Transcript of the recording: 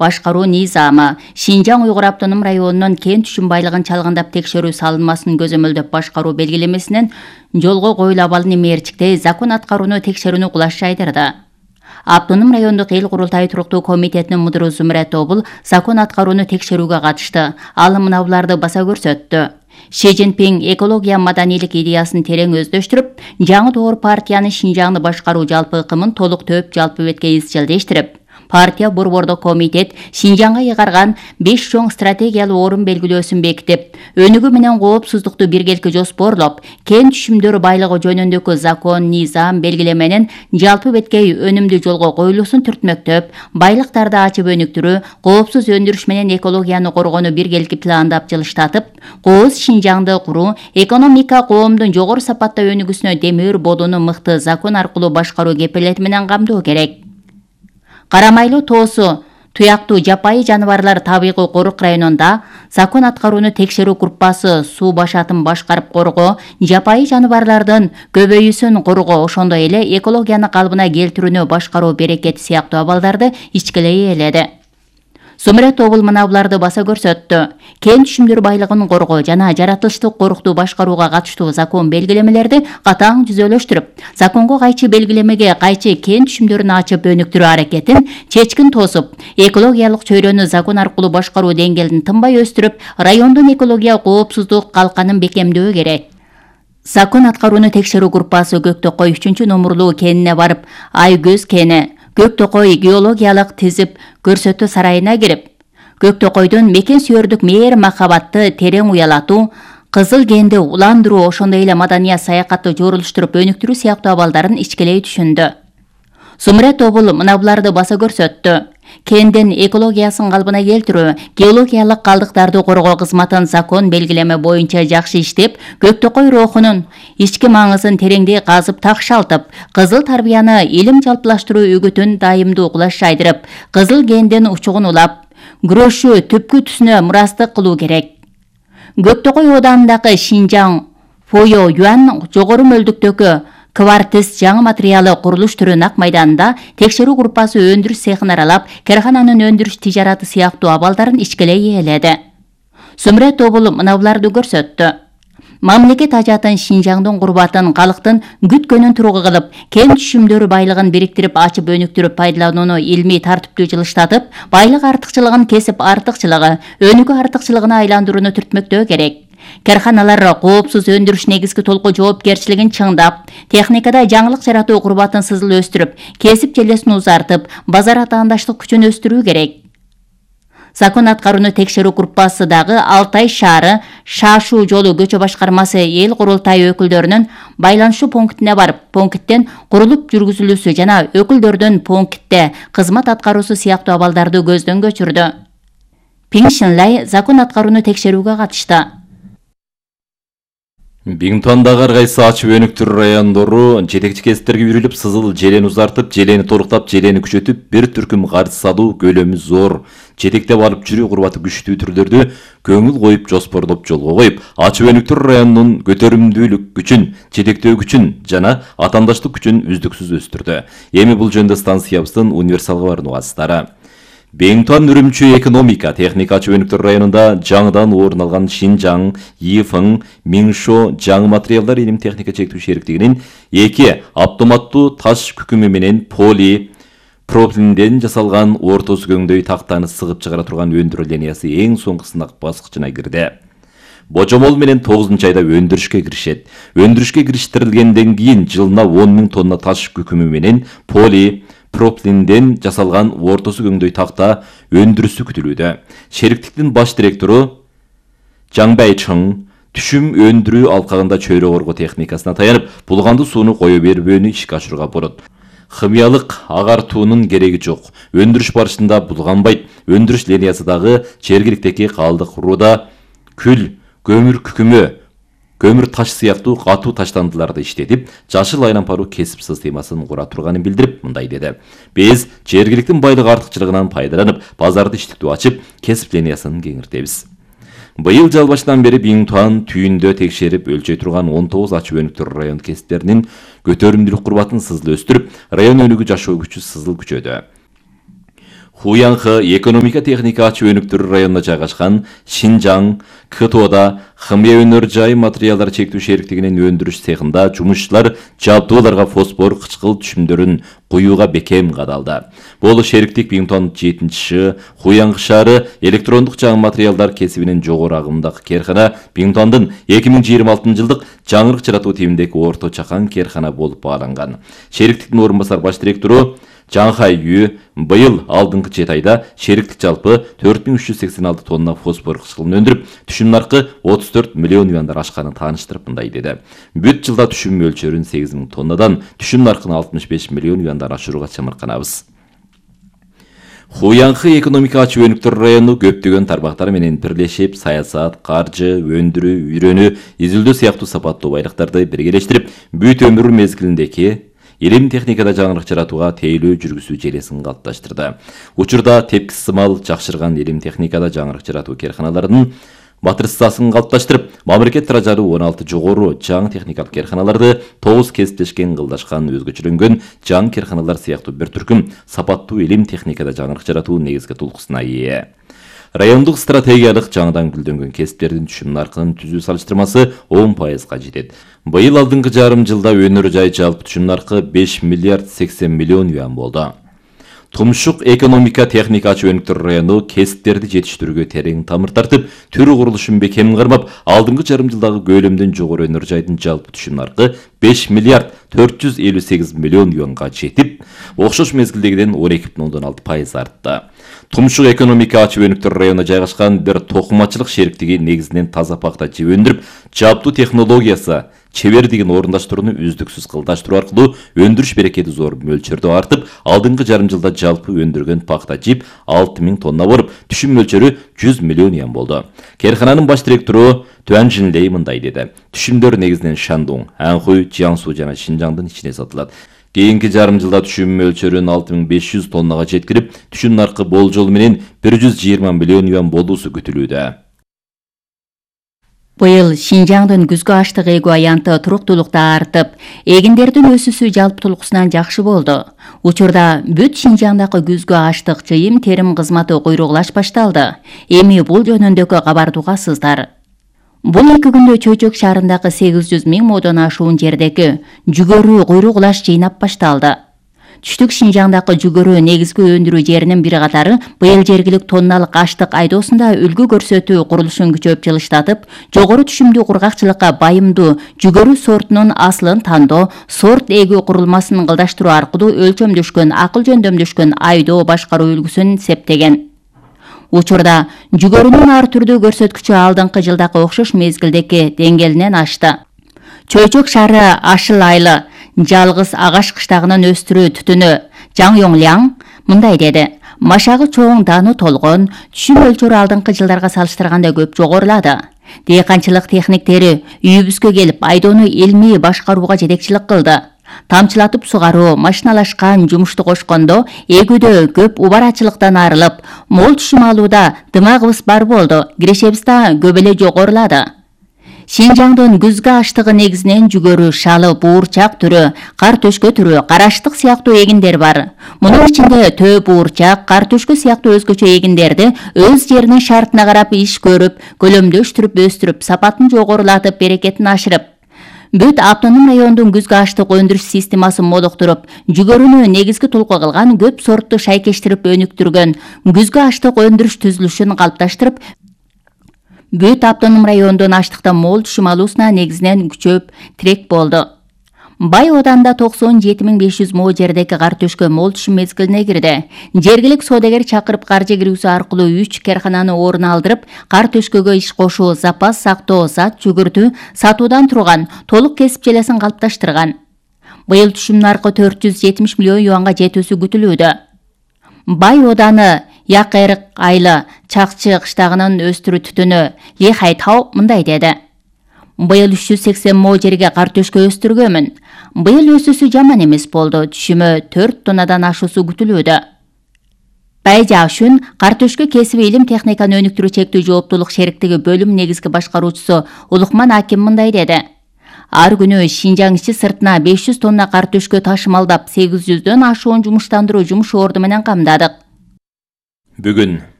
башкаруу низамы, Шинжаң Уйгур автоном районунун кен түшүм байлыгын чалгандап текшерүү салынмасын көзөмөлдөп башкаруу белгилемесинен жолго коюлуп алын эмерчиктей закон аткарууну текшерүүнү кулаш жайдырды. Автоном райондук эл курултайы туруктуу комитетинин мудуру Зумрет Тобул закон аткарууну текшерүүгө катышты. Ал мыналарды баса көрсөттү. Ши Цзиньпин экология маданийлик идеясын терең өздөштүрүп, жаңы доор партиянын Шинжаңды башкаруу жалпы ыкымын толук төп жалпы бетке изчилдештирип, партия борбордук комитет Шинжаңга ыйгарган 5 чоң стратегиялык орун белгилөөсүн бекитип, өнүгүү менен коопсуздукту биргеликте жоспорлоп, кен түшүмдөр байлыгы жөнүндөгү закон, низам белгилеменин жалпы бетке өнүмдүү жолго коюлуусун түртмөктөп, байлыктарды ачып өнүктүрүү, коопсуз өндүрүш менен экологияны коргоону биргеликте пландап жылыштатып, кооз Шинжаңды куруу, экономика коомдун жогору сапатта өнүгүүсүнө демир болууну мыкты закон аркылуу башкаруу кепилети менен камдоо керек. Карамайлуу тоосу туяктуу жапайы жаныбарлар табигый корук районунда закон аткарууну текшерүү группасы суу башатын башкарып коргоо, жапайы жаныбарлардын көбөйүүсүн коргоо, ошондой эле экологияны калыбына келтирүүнү башкаруу берекети сыяктуу абалдарды ичкилей ээледи. Зумрет Тобул мыналарды баса көрсөттү. Кен түшүмдөр байлыгын коргоо жана жаратылыштык корукту башкарууга катыштуу закон белгилемелерди катаң түзөлөштүрүп, законго кайчы белгилемеге кайчы кен түшүмдөрүн ачып өнүктүрүү аракетин чечкин тосуп, экологиялык чөйрөнү закон аркылуу башкаруу деңгээлин тынбай өстүрүп, райондун экология коопсуздук калканын бекемдөө керек. Закон аткарууну текшерүү группасы Көктөкөй 3 номурлуу кенине барып, Айкөз кени, Көктөкөй геологиялык тизип көрсөтүү сарайына кирип, Көктөкөйдүн мекен сүйөрдүк мээр махабатты терең уялатуу, кызыл кенди уландыруу, ошондой эле маданият саякатты жорулуштуруп өнүктүрүү сыяктуу абалдарын ичкилей түшүндү. Зумрет Тобул мыналарды баса көрсөттү. Кендин экологиясын калыбына келтирүү, геологиялык калдыктарды коргоо кызматын закон белгилеме боюнча жакшы иштеп, Көктөкөй рухунун ички маңызын тереңдей казып такшалтып, кызыл тарбияны илим жалпылаштыруу үгүтүн дайымдуу кулаш жайдырып, кызыл кендин учугун улап, күрөшүү түпкү түсүнө мурастык кылуу керек. Көктөкөй оданындагы Шинжаң Фойо Юан жогору мөлдүктөгү квартиз жаңы материалы курулуш түрүн ак майданында текшерүү группасы өндүрүш цехин аралап, кархананын өндүрүш тижараты сыяктуу абалдарын ичкилей ээледи. Зумрет Тобул мыналарды көрсөттү. Мамлекет ажатын Шинжаңдын курбатын, калктын күткөнүн тургу кылып, кен түшүмдөр байлыгын бириктирип, ачып өнүктүрүп пайдаланууну илмий тартиптүү жылыштатып, байлык артыкчылыгын кесип артыкчылыгы, өнүгүү артыкчылыгына айландырууну түртмөктөө керек. Карханалар коопсуз өндүрүш негизги толку жоопкерчилигин чыңдап, техникада жаңылык жаратуу курбатын сызыл өстүрүп, кесип желесин узартып, базар атаандаштык күчүн өстүрүү керек. Закон аткарууну текшерүү группасы дагы Алтай шаары Шашуу жолу көчө башкармасы эл курултайы өкүлдөрүнүн байланышуу пунктине барып, пункттен курулуп жүргүзүлүүсү жана өкүлдөрдүн пунктте кызмат аткаруусу сыяктуу абалдарды көздөн көчүрдү. Пиң Шинлай закон аткарууну текшерүүгө катышты. Биңтуандагы ар кайсы ачып өнүктүрүү райондору жетекчи кесиптерге үйрүлүп, сызыл желени узартып, желени толуктап, желени күчөтүп, бир түркүм карыз салуу көлөмү зор, жетектеп алып жүрүү курбаты күчтүү түрлөрдү көңүл коюп, жоспорлоп жолго коюп, ачып өнүктүрүү районунун көтөрүмдүүлүк күчүн, жетектөө күчүн жана атаандаштык күчүн үздүксүз өстүрдү. Эми бул жөнүндө станциябыздын универсалга барган убактылары. Биңтуан Үрүмчү экономика техника ачып өнүктүрүү районунда жаңыдан орун алган Шинжаң, Йифың, Миңшо жаңы материалдар илим техника чектүү шериктигинин 2 автоматтуу таш күкүмү менен пропилинден жасалган орто көңдөй тактаны сыгып чыгара турган өндүрүү линиясы эң соңку сынак баскычына кирди. Божомол менен 9 айда өндүрүшкө киришет. Өндүрүшкө кириштирилгенден кийин жылына 10 000 тонна таш күкүмү менен пропилинден жасалган ортосу көңдөй такта өндүрүсү күтүлүүдө. Шериктиктин баш директору Жаңбай Чың түшүм өндүрүү алкагында чөйрө коргоо техникасына таянып, булганды сууну кое бербөөнү ишке ашырууга болот. Химиялык агартуунун кереги жок. Өндүрүш барышында булганбайт. Өндүрүш линиясы дагы жергиликтеги калдык руда күл, көмүр күкүмү, көмүр таш сыяктуу катуу таштандыларды иштетип, жашыл айлампаруу кесип системасын кура турганын билдирип, мындай деди. Биз жергиликтин байлык артыкчылыгынан пайдаланып, базарды иштетүү ачып, кесип линиясын кеңиртебиз. Быйыл жыл башынан бери Биңтуан түйүндө текшерип өлчөй турган 19 ачып өнүктүрүү район кесиптеринин көтөрүмдүүлүк курбатын сызыл өстүрүп, район өнүгүү жашоо күчү сызыл күчөдү. Хуянхы экономика техника ачуу өнүктүрүү районунда жайгашкан Шинжаң КТОда химия өнөр жай материалдар чектүү шериктигинин өндүрүш цехында жумушчулар жабдууларга фосфор кычкыл түшүмдөрүн куюуга бекем кадалды. Бул шериктик Бингтон 7 Хуянхы шаары электрондук жаңы материалдар кесибинин жогору агымдагы керкана Бингтондун 2026 жылдык жаңырык жаратуу типиндеги орто чакан керкана болуп бааланган. Шериктиктин орун басар баш директору Жаңхай Ю быйыл алдыңкы 7 айда шериктик жалпы 4386 тонна фосфор кычкылын өндүрүп, түшүм наркы 34 миллион юандар ашканын тааныштырып мындай деди. Бүт жылда түшүм мөлчөрүн 8000 тоннадан, түшүм наркын 65 миллион юандан ашырууга чамырканабыз. Хуянхы экономика ачуу өнүктүрүү району көптөгөн тармактар менен бирлешип, саясат, каржы, өндүрүү, үйрөнүү, изилдөө сыяктуу сапаттуу байлыктарды биргелештирип, бүт өмүр мезгилиндеги илим техникада жаңырык жаратууга тейлөө жүргүзүү желесин калыпташтырды. Учурда тепкис сымал жакшырган илим техникада жаңырык жаратуу керканаларынын матрицасын калыпташтырып, мамлекет даражалуу 16 жогору жаңы техникалык керканаларды 9 кесиптешкен кылдашкан өзгөчөлөнгөн жаңы керканалар сыяктуу бир түркүм сапаттуу илим техникада жаңырык жаратуу негизги тулкусуна ээ. Райондук стратегиялык жаңыдан гүлдөнгөн кесиптердин түшүм наркынын түзүү салыштырмасы 10%га жетет. Быйыл алдыңкы жарым жылда өнөр жай жалпы түшүм наркы 5 миллиард 80 миллион юан болду. Тумшук экономика техника ачуу өнүктүрүү району кесиптерди жетиштирүүгө терең тамыр тартып, түрү курулушун бекем кармап, алдыңкы жарым жылдагы көлөмдөн жогору өнөр жайдын жалпы түшүм наркы 5 миллиард 458 миллион юанга жетип, окшош мезгилдегиден 12,6% артты. Тумшук экономика ачуу өнүктүрүү районуна жайгашкан бир токумачылык шериктиги негизинен таза пахта жеп өндүрүп, жабдуу технологиясы чебердигин орундаштырууну үздүксүз кылдаштыруу аркылуу өндүрүш берекети зор мөлчөрдө артып, алдыңкы жарым жылда жалпы өндүргөн пахта жип 6000 тонна болуп, түшүм мөлчөрү 100 миллион юан болду. Керкананын баш директору Туан Жинлей мындай деди. Түшүмдөр негизинен Шандун, Анхуй, Жиаңсу жана Шинжаңдын ичине сатылат. Кийинки жарым жылда түшүм мөлчөрүн 6500 тоннага жеткирип, түшүм наркы болжол менен 120 миллион юан болуусу күтүлүүдө. Быйыл Шинжаңдын күзгү аштык эгүү аянты туруктуулукта артып, эгиндердин өсүүсү жалпы тулкусунан жакшы болду. Учурда бүт Шинжаңдагы күзгү аштык жыйым терим кызматы куйругулаш башталды. Эми бул жөнүндөгү кабарды угасыздар. Бул 2 күндө Чөйчөк шаарындагы 800 000 модон ашуун жердеги жүгөрү куйругулаш жыйнап башталды. Түштүк Шинжаңдагы жүгөрү негизги өндүрүү жеринин бир катары быйыл жергилик тонналык аштык айдоосунда үлгү көрсөтүү курулушун күчөп жылыштатып, жогору түшүмдүү кургакчылыкка байымдуу жүгөрү сортунун асылын тандоо, сорт эгүү курулмасын кылдаштыруу аркылуу өлчөмдөшкөн, акыл жөндөмдөшкөн айдоо башкаруу үлгүсүн септеген. Учурда жүгөрүнүн ар түрдүү көрсөткүчү алдыңкы жылдагы окшош мезгилдеги деңгээлинен ашты. Чөйчөк шаары Ашыл айлы жалгыз агаш кыштагынын өстүрүү түтүнү Жаң Йоңляң мындай деди. Машагы чоң, даны толгон, түшүм мөлчөрү алдыңкы жылдарга салыштырганда көп жогорулады. Дыйканчылык техниктери үйүбүзгө келип айдоону илмий башкарууга жетекчилик кылды. Тамчылатып сугаруу, машиналашкан жумушту кошкондо эгүүдө көп убарачылыктан арылып, мол түшүм алууда дымагыбыз бар болду. Кирешебиз да көп эле жогорулады. Шинжаңдын күзгү аштыгы негизинен жүгөрү, шалы, буурчак түрү, кар төшкө түрү, караштык сыяктуу эгиндер бар. Мунун ичинде төө буурчак, кар төшкө сыяктуу өзгөчө эгиндерди өз жеринин шартына карап иш көрүп, көлөмдөштүрүп, өстүрүп, сапатын жогорулатып, берекетин ашырып, бүт автоном райондун күзгү аштык өндүрүш системасын молуктуруп, жүгөрүнү негизги тулку кылган көп сортту шайкештирип өнүктүргөн күзгү аштык өндүрүш түзүлүшүн калыпташтырып, бүт автоном райондун аштыктан мол түшүм алуусуна негизинен күчөп тирек болду. Бай ооданда 97 500 мо жердеги кар төшкө мол түшүм мезгилине кирди. Жергилик соодагер чакырып каржы киргизүү аркылуу 3 керкананы орун алдырып, кар төшкөгө иш кошуу, запас сактоо, зат жүгүртүү, сатуудан турган толук кесип желесин калыпташтырган. Быйыл түшүм наркы 470 миллион юанга жетүүсү күтүлүүдө. Бай ооданы Якайрык айлы Чакчы кыштагынын өстүрүү түтүнү Ли Хайтау мындай деди. Быйыл 380 мо жерге кар төшкө өстүргөмүн. Быйыл өсүүсү жаман эмес болду. Түшүмү 4 тоннадан ашуусу күтүлүүдө. Бай Жашүн кар төшкө кесиби илим техниканы өнүктүрүү чектүү жооптуулук шериктиги бөлүм негизги башкаруучусу Улукман Аким мындай деди. Ар күнү Шинжаң ичи сыртына 500 тонна кар төшкө ташымалдап 800дөн ашуун жумуштандыруу жумуш орду менен камдадык. Бүгүн